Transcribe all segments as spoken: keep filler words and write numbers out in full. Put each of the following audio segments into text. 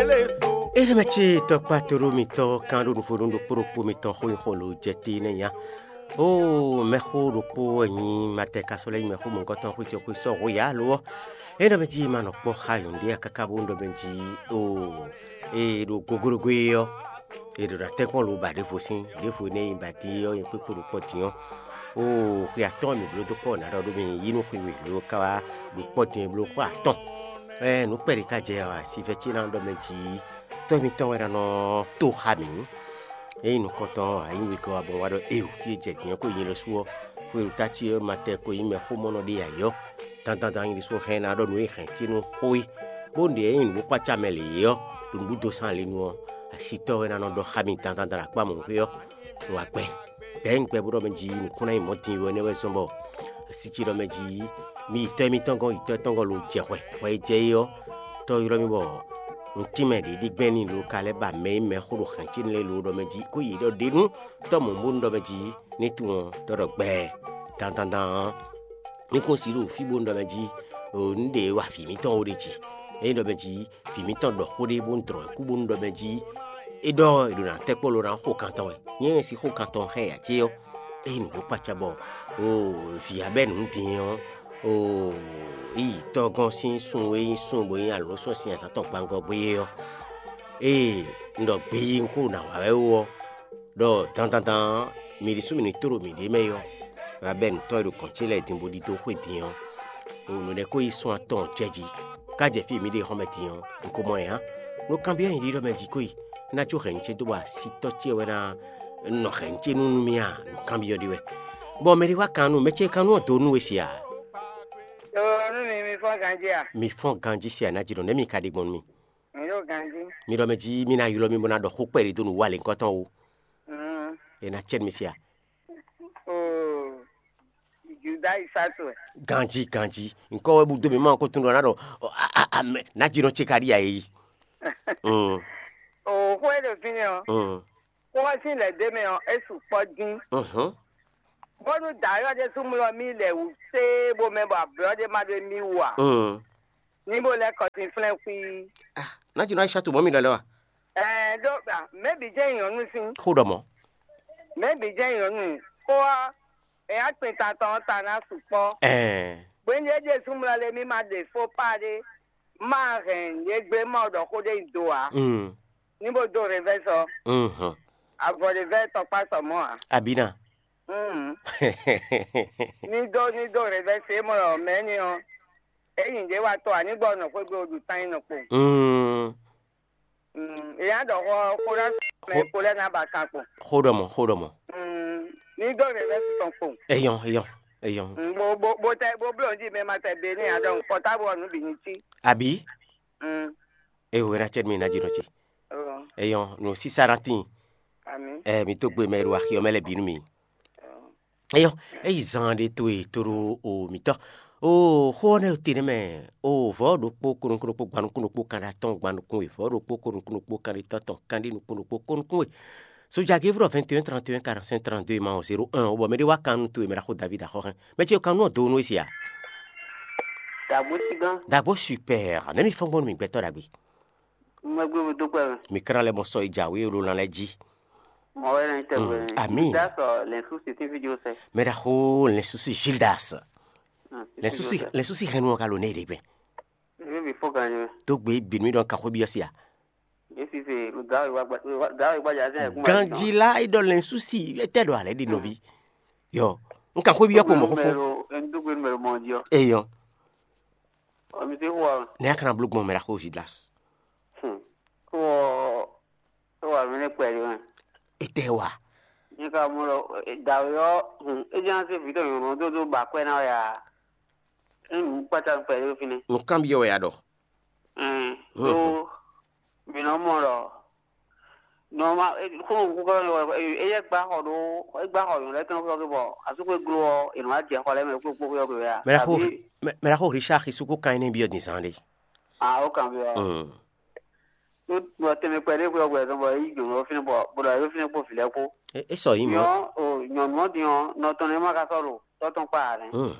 Éɖɛmɛ ce tɔkpá toɖó mitɔn kan ɖo nǔvónú ɖokpó ɖokpó mitɔn xó nyi xó lo jɛ te nɛ nya. Ó, mɛxó ɖokpó wɛ nyí Matɛka sɔ́ lɛ́ nyí mɛxó mɔ̌hunkɔtɔn xwé ce xwé sɔ́ hwe yǎ lo ɔ́. É nɔ mɛ jí ma nɔ kpɔ́ xá nyɔ̌nu ɖé káká bó nɔ ɖɔ mɛ jí ó, é ɖo goglogo é ɔ́, è ɖo ná tɛ́nkpɔ́n lo ba ɖěvo sín ɖěvo énɛ́ e ba din é ɔ́, nyɛ kpékpé ɖo kpɔ́ din ɔ́. Ó, xwe atɔ́ɔ́n mǐ bló dó kpɔ́ nǎ ɖɔ ɖó mì yí nú xwe we lo ka wá ɖo kpɔ́ din e bló xwe atɔ́ɔ́n. Ɛ nǔ kpɛɖé ka jɛ ɔ, asivɛ ce ná ɖɔ mɛ jí tɔ́ mitɔn wɛ ná nɔ tó xá mǐ. Ényí nukɔntɔn ɔ́, a nyǐ wegɔ́ wá bɔ un wá ɖɔ éeǒ, fí e jɛ dǐn ɔ́ ko nyi lɔ sú ɔ́, xwéɖuta ce ɔ́ ma tɛ ko nyí mɛxómɔnɔ ɖé ǎ é ɔ́, dandan nyi ɖésú hɛn ná ɖɔ nǔ e hɛn ce nú xó é, bó ɖe ényí nǔ bó kpácá mɛ lě é ɔ́, ɖo nǔɖuɖu sán le nu ɔ́, asitɔ́ wɛ ná nɔ ɖɔ xá mì dandan ɖo akpá mɔ̌hwé ɔ́, un wá gbɛ. Bɛ̌ un gbɛ bó ɖɔ mɛ jí nǔkún ná nyí mɔ̌ din wɛ nɛ́ wɛ zɔ́n bɔ asi ce ɖɔ mɛ jí mi yi tɔ́ émítɔn gɔ́n, yi tɔ́ étɔn gɔ́n lo jɛ hwɛ, hwɛ e jɛ é ɔ́, tɔ́ ylɔ́ mì bɔ un tín mɛ ɖě ɖi gbɛn n'i lo ka lɛ́ ba mɛ e mɛ xó ɖo hɛ̌n ce lɛ́ɛ lo ɖɔ mɛ jí, kó yě ɖɔ ɖě nú tɔ́ mɔ̌ bónú ɖɔ mɛ jí ní tunwun ɔ́, tɔ́ ɖɔ gbɛɛ dandandan ɔ́, mí kún si ɖo fí bónú ɖɔ mɛ jí, un ɖe wa vǐ mǐtɔn ó ɖe jí. Ényí ɖɔ mɛ jí vǐ mǐtɔn ɖɔ xó ɖé bónú dlɔ̌ ɛ kú bónú ɖɔ mɛ jí é ɖɔ è ɖo ná tɛ́ kpó lo ná xó kan tɔn wɛ. Nyɛ e sin xó kan tɔn xá ɛ ǎ cé ɔ́, ényí nǔgbó kpácá bɔ oo vǐ Abɛ́nu din ɔ́, oo yi tɔ́ gɔ́n sín sun e nyí sun bó nyí alǒ sɔ́ sin azǎn tɔn gbangɔ gbé é ɔ́, ée un ɖɔ gbe yi un kó ná wa wɛ ó ɔ́, ɖɔ dandandan ɔ́, mǐ ɖésú mǐ ní tló mǐɖée mɛ é ɔ́, Abɛ́nu tɔ́ e ɖo gɔ̌n ce lɛ́ɛ din bó ɖidó xwé din ɔ́, o nǔ lɛ́ɛ ko yi sun atɔn jɛ jí, ká jɛ fí e mǐ ɖe xɔ́mɛ din ɔ́, un ko mɔ ɛ ǎ. Nú kanbyɔ́ nyɛ ɖiɖɔ mɛ jí ko yi, é ná có hɛ̌nnu ce dó bɔ asitɔ́ ce wɛ ná nɔ hɛ̌nnu ce nú nú mì a? Nǔ kanbyɔ́ ɖé wɛ. Bɔ mɛ ɖé wá kan nú mɛ ce kan nú ɔ́ dó nú we se a? Yoo, nú mi, mi fɔ́n ganjí a? Mi fɔ́n ganjí se a? Ná jí nɔ nɛ̌ mi ka ɖe gbɔn nú mì? Mi ɖo ganjí. Mi ɖɔ mɛ jí mi ná ylɔ́ mì bó ná ɖɔ xó kpɛɖé dó nǔ wa lěhunkɔtɔn ó. Mm. É ná cɛ́ nú mi se a? Oo, Juda yi sá towe. Ganjí, ganjí. Nǔkɔ wɛ bú dó mì má ko tunɖun ná ɖɔ ɔ, a, a, a, mɛ, ná jí nɔ ce ka ɖi a é yi. Mm. Oo, xó e ɖo fínɛ́ ɔ́, Mm. xó ɔ́ sín lɛ̌ dó mɛ ɔ́, é sukpɔ́ dín. Mhm. Bónú dǎyɔ́ ɖé súnmlɔ mì lɛ wǔ séé bó mɛ bɔ ablɔ́ ɖé ma ɖó mì wú ǎ. Mm. Ní bó lɛ́ kɔ sín flɛ́n xwí. Ah, ná jí nɔ Aisha to mɔ mi lɔlɛ wa. Ɛɛ, ɖó mɛ̌ bǐ jɛ́n nyɔ̌nu sín? Xó ɖɔ mɔ. Mɛ̌ bǐ jɛ́n nyɔ̌nu? Xó ɔ́, è nǎ kpin ta tɔn ɔ́ ta ná sukpɔ́. Ɛɛ. Gběndé Jesu mlɔ lé mì ma ɖe fó pá ɖé, má hɛn yě gbé mɔ ɖɔ xó ɖé nyi do ǎ. Mm. Ní bó dó revɛ́ sɔ. Mhm. Avɔ ɖe vɛ́ tɔkpá sɔ mɔ̌ ǎ. Abina. Mm. Ní dó ní dó revɛ́ se mɔ mɛ̌ ni ɔ́, é nyi ɖě wa tɔ ǎ ní gbɔ nɔ xwé gbe ɖu tán nyi nɔ kpo. Mm. Mm, èyá ɖɔ xɔ xó ná mɛ Xó- kpo lɛ́ ná ba kan kpo. Xó ɖɔ mɔ, xó ɖɔ mɔ. Mm, ní dó revɛ́ tɔn kpo. Eyɔn, eyɔn, eyɔn. Mm, bó bó bó tɛ bó bló jí mɛ ma tɛ be ní adɔ pɔtábl ɔ́ nǔ bǐ ní cí. Abi? Mm, Ewe na cɛ mi na jí nɔ ce. Oh, Eyɔn, no sisa na tin. Ami. Ɛ mi to gbe mɛ ɖo axi ɔ́ mɛ lɛ bǐ nú mi. Oh. Eyɔn, eyi zan ɖe to e to ɖo o mitɔ. O xó ɔ́ nɛ te nɛ mɛ. O vɔ̌ ɖokpó kónúkún ɖokpó gban nukún ɖokpó kan ɖe atɔ́ɔ́n gban nukún we, vɔ̌ ɖokpó kónúkún ɖokpó kan ɖe tɔ́tɔn kan ɖe nukún ɖokpó kónúkún we. Sojagevu ɖɔ vingt et un trente et un quarante-cinq trente-deux ma o zéro un, o bɔ mɛ ɖé wá kan nú towe mɛ ɖaxó David axɔ́ hɛn. Mɛ ce kan nú ɔ do nú we se a? Dagbo sigan. Dagbo super. Nɛ mi fɔn gbɔn nú mi gbɛtɔ ɖagbe. Mɛ gbé mo dó kpɛ mɛ. Mi kra lɛ mɔ sɔ yi jawe o lo lan lɛ ji. Mɔ wɛ nɛ tɛ Mm, wɛ. Ami. Da sɔ lɛ su si ti fi jo sɛ. Mɛ ɖaxó lɛ susi Gildas. Mm, Lɛ susi lɛ susi hɛn nu ka lo ne ɖe gbɛ. Ebi bi fo gan yɛ. To gbe bi mi dɔn ka xo bi sia. Esi se ga wa gba ga wa gba ja se. Ganji la idɔ lɛ susi etɛ do alɛ di nɔvi. Yɔ, n ka xo bi ko mɔ xo fo. Numéro, en double numéro mon dio. Eyɔ. O mi se wa. Ne akana blo gbɔn mɛ la xo Gildas. Hmm. Ko ko wa mi ne kpɛ yo. Etɛ wa. Ni ka mo lo da yo. Hmm. E jan se video yo no do do ba kpɛ na ya. Enu kpata kpɛ yo fine. Nǔkan byɔ́ wɛ a ɖɔ. Ɛn, ɖó mǐ nɔ mɔ ɖɔ nɔma xónɔ kúkú kɔ eyɛ gbá xɔ ɖó é gbá xɔ yǒ lɛ́ɛ tɔn xɔ bɔ asúkpé glo ɔ́ è nɔ wá jɛ xɔ lɛ́ɛ mɛ kpókpó xɔ bɛ wɛ a? Mɛ ɖaxó, mɛ mɛ ɖaxó Richard Xisú kó kan énɛ́ byɔ́ din zán ɖé. Ah, ó kan byɔ́. Mm. Ɖó bɔ tɛnmɛ kpɛ ɖé xwé ɔ́ gbɛ zɔn bɔ é yí jǒnɔ fínɛ́ bɔ bó ɖɔ é fínɛ́ kpó vǐ lɛ́ɛ kpó. É é sɔ yí mɔ. Nyɔ o nyɔ̌nu ɔ́ din ɔ́, nɔ tɔn nɛ́ ma ka sɔ́ ɖo tɔ́ tɔn kpá ǎ nɛ́. Mm.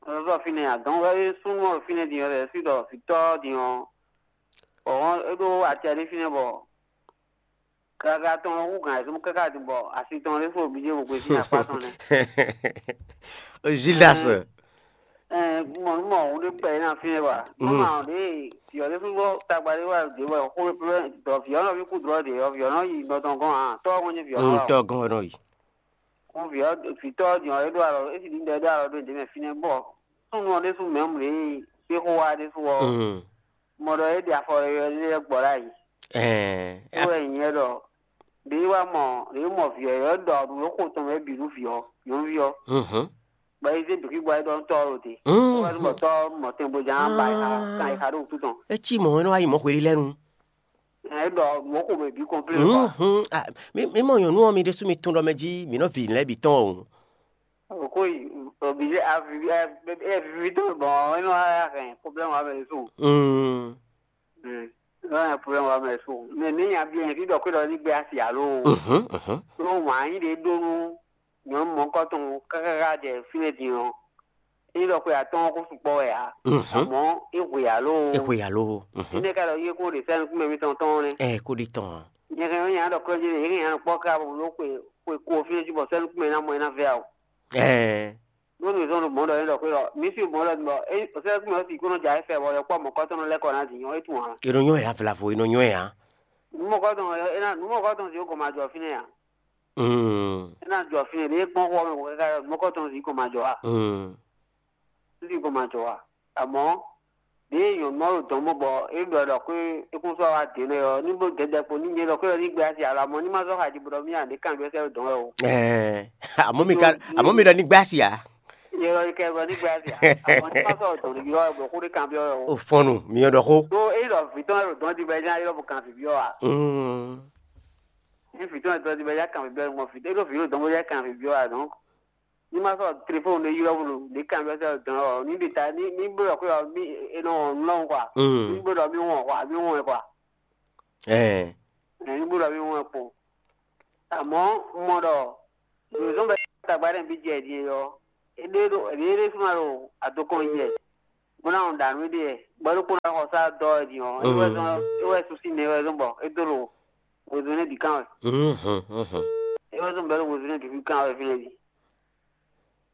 Ɔ́ fínɛ́ adɔ̌n wɛ súnnu ɔ́ fínɛ́ din ɔ́ lɛ́ɛ sí ɖɔ vǐtɔ́ din ɔ́, ɔ̌ é ɖó acɛ ɖé fínɛ́ bɔ káká tɔn ɔ́ hú gǎn ayǐsúmú káká din bɔ asi tɔn ɖésú ɖo bǐ jɛ bó gbe sín akpá tɔn nɛ́. Gildas. Ɛɛ, mɔ nú mɔ hǔn ɖé kpɛ yě ná fínɛ́ wa. Nú ma ɔ́ ɖě vǐ ɔ́ ɖésú bɔ tagba ɖé wá ɖě wɛ xó ɖɔ vǐ ɔ́ nɔ ví kú dlɔ́ ɖě ɔ́, vǐ ɔ́ nɔ yi nɔ tɔn gɔ́n ǎ, tɔ́ ɔ́ hɔn nyí vǐ ɔ́ nɔ wa. Tɔ́ gɔ́n wɛ nɔ yi. Kún vǐ ɔ́ vǐtɔ́ ɔ́ din ɔ́, é ɖó alɔ é si ɖi ɖɔ é ɖó alɔ ɖó nǔɖé mɛ fínɛ́ bɔ súnnu ɔ́ ɖésú mɛ̌ mlě e xó wá ɖésú ɔ́, mɔ ɖɔ é ɖi afɔ yɔyɔ ɖé lɛ́ɛ gbɔ ɖ'ayǐ. Ɛɛ, É wɛ nyɛ ɖɔ ɖě wá mɔ ɖě mɔ vǐ ɔ́ ɖɔ nǔ e xo tɔn mɛ bǐ nú vǐ ɔ́, nyɔ̌nuví ɔ́, mhm. Bɔ é zé dǒkígbɔ é ɖɔ nú tɔ́ ɔ́ ɖo te. Mm. É wɛ nú bɔ tɔ́ ɔ́ mɔ tɛngbɔjǎ ba yi xa kan yi xa ɖó wútu tɔn. É cí mɔ̌ é nɔ wá yi mɔ̌ hweɖé lɛ́ɛ nu. Ɛ ɖɔ nǔ xo mɛ bǐ kɔnplé kɔ. Mhm. Ah, mi mi mɔ nyɔ̌nu ɔ́, mi ɖésú mi tunwun ɖɔ mɛ jí mi nɔ vi lɛ́ɛ bǐ tɔn o. Òkú yi òbí avivi avivi tó bɔn é nɔ wá hɛn problème wá mɛ ɖésú. Mm. É nɔ hɛn problème wá mɛ ɖésú. Mɛ ní nya bí ɛn tí ɖɔ kó ɖɔ ní gbé asi alo. Mhm, mhm. Ɖó wǎn yí ɖé ɖó nú nyɔ̌nu mɔ̌kɔtɔn kákáká jɛ fínɛ́ din ɔ́, é ɖɔ xwe atɔ́ɔ́n kó sukpɔ́ wɛ ǎ. Mhm. Amɔ̌ é hwe ǎ loo. É hwe ǎ loo. Mhm. Énɛ́ ka ɖɔ yé kó ɖe sɛ́nukúnmɛ mitɔn tɔn ɔ́ nɛ́. Ɛ kó ɖi tɔn ǎ. Nyɛ hɛn ɔ́, nya ɖɔ kɔ́ jí ɖe, yě hɛn nya kpɔ́ ká bó bló xwe xwe ko fínɛ́ jí bɔ sɛ́nukúnmɛ ná mɔ ɛ ná vɛ ǎ o. Ɛɛ. Nú mi zɔn ɖo mɔ̌ ɖɔ é ɖɔ xwe ɔ́, mi sí mɔ̌ ɖɔ bɔ é sɛ́nukúnmɛ ɔ́ sì kó nɔ jɛ ayé fɛ bɔ yɔkpɔ́ mɔ̌kɔtɔn nɔ lɛ́ kɔ ná din ɔ́, é tunwun ǎ. È nɔ nyɔ́ ɛ ǎ, vlavo è nɔ nyɔ́ ɛ ǎ. Nǔmɔ̌kɔtɔn ɔ́, é ná nǔmɔ̌kɔtɔn sì ó gɔn ma jɔ fínɛ́ ǎ. Mm. É ná jɔ fínɛ́ ɖě kpɔ́n xó ɔ́ mɛ káká ɔ́, nǔmɔ̌kɔtɔn sì gɔn ma jɔ ǎ. Mm. Sì gɔn ma jɔ ǎ. Amɔ̌ ɖě nyɔ̌nu ɔ́ ɖo dɔn mɔ bɔ é ɖɔ ɖɔ xwé é kún sɔ́ wá dě nɛ́ ɔ́, ní bó dɛdɛ kpo ní nyɛ ɖɔ xwé ɔ́ ní gbé asi alɔ, amɔ̌ ní ma zɔ́ xa jí bó ɖɔ mí ǎ, ɖě kanbyɔ́ sɛ́ ɖo dɔn wɛ o. Ɛɛ, àmọ́ mi ka àmọ́ mi ɖɔ ní gbé asi ǎ. Yɛ ɖɔ ní kɛ ɖɔ ní gbé asi ǎ. Amɔ̌ ní ma sɔ́ dɔn ɖě ɔ́ bɔ xó ɖé kanbyɔ́ wɛ o. Ó fɔ́n nu, mi ɔ́ ɖɔ xó. Ɖó é ɖɔ vǐ tɔn wɛ ɖo dɔn jí bɔ é ná ylɔ́ bó kan vǐ byɔ́ ǎ. Mm. Ní vǐ tɔn wɛ dɔn jí bɔ é ná kan vǐ byɔ́ ɔ́, mɔ vǐ é ɖo vǐ ɖo dɔn bó é ná kan vǐ byɔ́ ǎ, donc. Ní ma sɔ́ telefɔ́ni ɖé ylɔ́ bó ɖo ɖě kanbyɔ́ sɛ́ ɖo dɔn ɔ́, ní ɖe ta ní ní bló ɖɔ xwé ɔ́ mí è nɔ wɔn nǔ lɔhun kɔ a? Mm. Ní bló ɖɔ mí wɔn kɔ a, mí wɔn ɛ kɔ a? Ɛɛ. Ɛ ní bló ɖɔ mí wɔn ɛ kpo. Amɔ̌ un mɔ ɖɔ nǔzɔ́n bɛ tagba ɖé nɔ bí jɛ din ɔ́, é ɖé ɖo é ɖé súnmọ́ ɖo adokɔn yi wɛ, bó ná wɔn ɖa nǔ éɖée wɛ, bɔ é ɖokpónɔ wá xɔ sá dɔ́ wɛ din ɔ́, é wɛ zɔn é wɛ sú sín nɛ wɛ zɔn bɔ é dó ɖo wezun nɛ́ bǐ kan wɛ. Mhm, mhm. É wɛ zɔn bɔ é ɖo wezun nɛ́ bǐ kan wɛ fínɛ́ jí.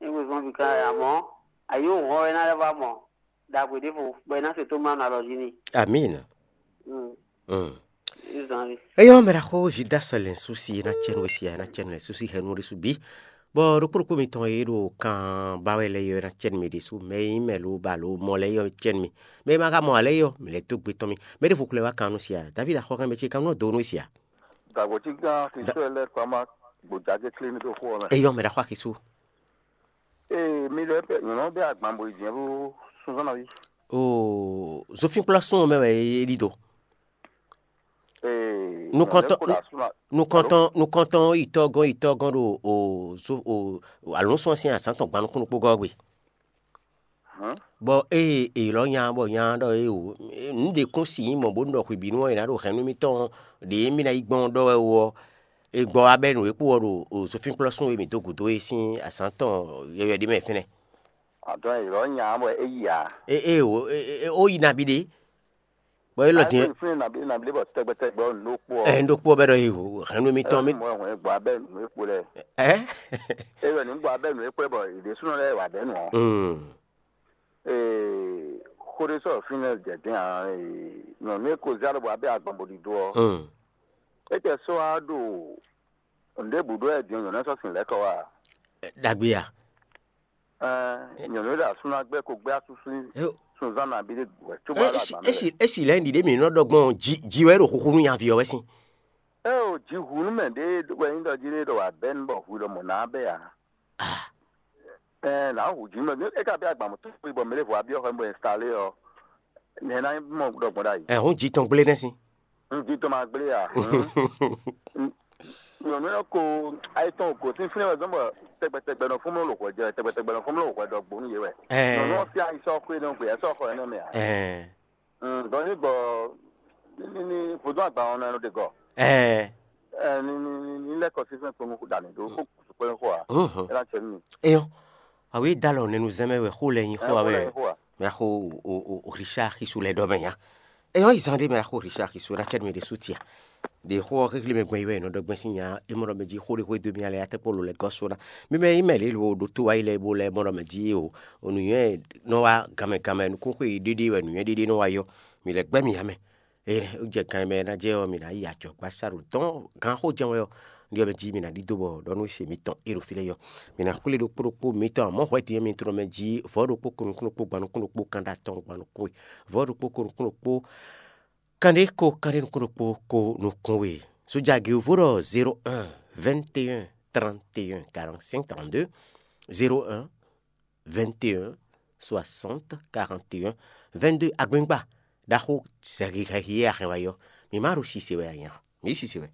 É wezun bǐ kan wɛ, amɔ̌ ayǐ wǒ hɔn wɛ é ná lɛ́ vɔ mɔ ɖagbe ɖěvo bɔ é ná se tó má nɔ alɔ jí n'i. Amina. Mm. Mm. Izɔn ɔ́. Eyɔ mɛ ɖaxó Judas lɛn susi na cɛnu esia na cɛnu lɛn susi hɛnu ɖésú bí. Bɔ ɖokpó ɖokpó mitɔn e ɖo kan ba wɛ lɛ yɔ na cɛnu mi ɖésú mɛ e nyí mɛ lo ba lo mɔ lɛ yɔ cɛnu mi. Mɛ e ma ka mɔ ǎ lɛ yɔ mi lɛ dó gbe tɔn mi. Mɛ ɖěvo kulɛ wá kan nú sia. David axɔ́kan mɛ ce kan nɔ do nú sia. Dàgbòtígán Kristu lɛ́ kpama gbòjá jẹ́ kílíní ɖo xó ɔ́ mɛ. Eyɔ mɛ ɖaxó Akisu. Ee, mi lɛ́ bɛ nyɔ̌nu bɛ agban bo yi jɛ́n ɖó súnzán ná ví. Oo, zofínkplɔ́ sún mɛ wɛ é ɖi do. Ee, Nukɔntɔn- nyɔ̌nu lɛ́ kó ɖo asú ná- nukɔntɔn nukɔntɔn yitɔ́gɔn yitɔ́gɔn ɖo o zo o alɔ̌nsɔ́n sín azǎn tɔn gban nukúnnú kpó gɔ́ gbe. Hɔn? Bɔ ée è ylɔ́ nya bɔ nya ɖɔ é o nǔ ɖě kún si nyí mɔ̌ bónú ɖɔ xwebǐnu ɔ́ è nǎ ɖo hɛ̌nnu émítɔn ɖě mì ná yi gbɔn ɖɔ wɛ ó ɔ́, è gbɔ wá bɛ́ nǔ e kpo ɔ́ ɖo zofínkplɔ́ sún e mǐ dó gǔdo é sín azǎn tɔn yɔywɛ ɖé mɛ fínɛ́. Àdɔn è ylɔ́ nya bɔ é yi ǎ. É é o é é ó yi nabí ɖé. Bɔ é lɔ din. Fínɛ́ nabí nabí bɔ tɛgbɛtɛgbɛ ɔ́ nǔ ɖó kpó ɔ́. Ɛ ń ɖó kpó ɔ́ bɛ́ ɖɔ yi hɛ̌nnu émítɔn mì. Mɔ ɛ hɔn ɛ gbɔ abẹ́ nǔ e kpo lɛ. Ɛ. É wɛ ní gbɔ abẹ́ nǔ e kpo lɛ bɔ ìɖésúnɔ lɛ́ɛ wà bɛ́ nǔ ɔ́. Mm. Ee, xó ɖé sɔ́ fínɛ́ jɛ din ǎ, ee, nyɔ̌nu e ko zé alɔ bɔ abẹ́ agbɔn bo ɖi dó ɔ́, Mm. é tɛ sɔ́ wá ɖo nǔɖé bǔ ɖó wɛ din nyɔ̌nu ɛ sɔ́ sin lɛ́ kɔ wá. Ɖagbe a? Ɛɛ, nyɔ̌nu e ɖo asú ná gbɛ́ ko gbɛ́ asú sín Yo. Sunzán nabí ɖé wɛ cóbɔ é ɖo si agban é mɛ. Si é si lɛ̌ ɖiɖe mǐ nɔ ɖɔ gbɔn jí jí wɛ ɖo xuxu nú nyaví ɔ́ wɛ sín. É o, jǐ hu nú mɛ ɖé wɛ nyí ɖɔ jí ɖé ɖɔ wǎ bɛ́ nú bɔ hu ɖɔ mɔ̌ ná bɛ́ ǎ. Ah. Ɛɛ, nǎ hu jǐ mɛ é ka bɛ́ agban mɔ̌ tó kpé bɔ mɛ ɖěvo wá byɔ́ xɔ bɔ ɛnstalé ɔ́, nɛ̌ ná nyí mɔ ɖɔgbɔn ɖ'ayǐ. Ɛ hǔn jí tɔn gblé nɛ́ sín. Un jí tɔn ma gblé a? Nyɔ̌nu ɔ́ ko ayetɔn gǒ sín fínɛ́ wɛ zɔ́n bɔ tɛgbɛtɛgbɛ nɔ fún mlɔ́ lǒ hwɛ jɛ tɛgbɛtɛgbɛ nɔ fún mlɔ́ lǒ hwɛ ɖɔ gbó nú yě wɛ. Ɛɛ. Nyɔ̌nu ɔ́ fí ayi sɔ́ xwé nɔ gbé ɛ sɔ́ xɔ ɛnɛ́ mɛ ǎ. Ɛɛ. Dɔn ní gbɔ ní ní vodún àgbà ɔ́ nɔ ɖe gɔ. Ɛɛ. Ɛ ní ní ní ní lɛ́ kɔ sísɛ́n kpɔ́n kó dà mí ɖó kó kó kpɛ́n xó ǎ. Mhm. É ná cɛ nú mi. Eyɔn, awi dalɔ nenu zɛmɛ wɛ xó lɛ nyi xó Ɛ, awɛ. Xó lɛ nyi xó ǎ. Mɛ xó o o o Richard Xisú lɛ ɖɔ mɛ nya. É nyɔ́ yi zan ɖé mɛ xó Richard Xisona cɛ́ mi ɖésú tia. Ɖe xó ɔ́ xéxlé mɛ gbɔn yi wɛ è nɔ ɖɔ gbɛn sín nya é mɔ ɖɔ mɛ jí xó ɖé xwé dó mì alɛ atɛ́kpó lo lɛ gɔ́ sona. Mi mɛ yi mɛ lě lo ɖo tó wá yi lɛ bó lɛ mɔ ɖɔ mɛ jí o. Nǔnywɛ́ nɔ wá ganmɛ ganmɛ nukúnxwe ɖéɖé wɛ nǔnywɛ́ ɖéɖé nɔ wá yɔ. Mi lɛ gbɛ́ mi ǎ mɛ. Ée ó jɛ gan e mɛ ná jɛ ɔ́, mi ná yi ajɔ̌gbásá ɖo dɔn gan xó jɛ́n wɛ ɔ́. Ɖiɔ mɛ jí mi ná ɖidó bɔ ɖɔ nú se mitɔn é ɖo fí lɛ́ɛ yɔ. Mi ná xwlé ɖokpó ɖokpó mitɔn mɔ̌ hwɛ din mi tlɔ mɛ jí vɔ̌ ɖokpó ko nukún ɖokpó gban nukún ɖokpó kan ɖo atɔn gban nukún we. Vɔ̌ ɖokpó ko nukún ɖokpó kanɖé ko kanɖé nukún ɖokpó ko nukún we. Sójà Gilvo ɖɔ zéro un vingt et un trente et un quarante-cinq trente-deux, zéro un vingt et un soixante quarante et un vingt-deux. Agbɛ́ngba ɖaxó zɛ̌xixɛxi e a hɛn wá yɔ, mǐ má ɖo sise wɛ a nya? Mǐ sise wɛ.